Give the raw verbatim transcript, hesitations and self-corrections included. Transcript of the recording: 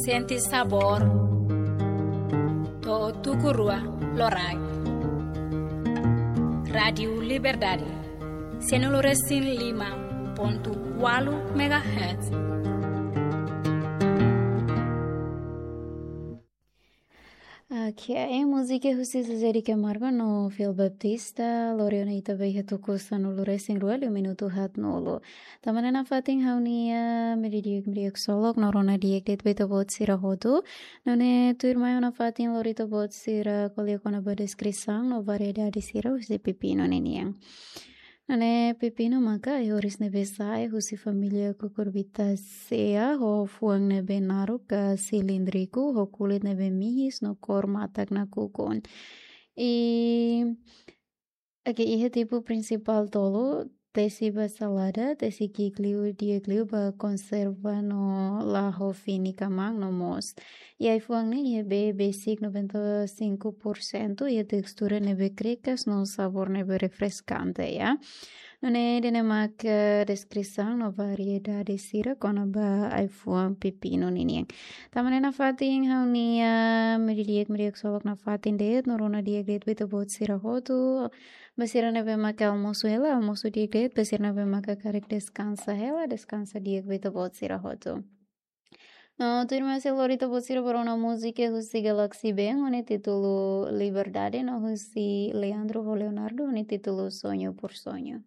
Sente sabór. To'o tuku rua loraik. Rádiu Liberdade. Sanulu-resin-lima pontu ualu megahertz. Oke, múzika husi Zezé de Camargo no Fiel Baptista, lori ona ita ba iha tuku sanulu-resin-rua liu minutu haatnulu. Tanba ne'e nafatin ha'u-nia meiudia di'ak, meiudia ksolok, no rona di'ak de'it ba ita-boot sira hotu. Nune'e tuirmai ha'u nafatin lori ita-boot sira ko'alia kona-ba deskrisaun no variedade sira husi pepinu ninian. Nune'e pepinu maka ai-horis ne'ebé sa'e husi família Cucurbitaceae, ho fuan ne'ebé naruk ka silíndriku, ho kulit ne'ebé mihis no kór matak nakukun. I, oke, iha tipu prinsipál tolu, tesi ba salada, tesi ki'ik liu, di'ak liu ba konserva no la'o fini kmaan no moos. I ai-fuan ne'e iha bee besik noventa e cinco por cento, iha tekstura ne'ebé krikas no sabór ne'ebé refreskante, ya. Nune'e ida-ne'e mak, eh, deskrisaun no variedade sira kona-ba ai-fuan pepinu ninian. Tanba ne'e nafatin ha'u-nia meiudia di'ak, meiudia ksolok nafatin de'it, no rona di'ak de'it ba ita-boot sira hotu. Ba sira ne'ebé maka almosu hela, almosu di'ak de'it, ba sira ne'ebé maka karik deskansa hela, deskansa di'ak ba ita-boot sira hotu. No tuirmai sei lori ita-boot sira ba rona múzika husi Galaxy Band, ho nia títulu Liberdade, no husi Leandro ho Leonardo, ho nia títulu Sonho por Sonho.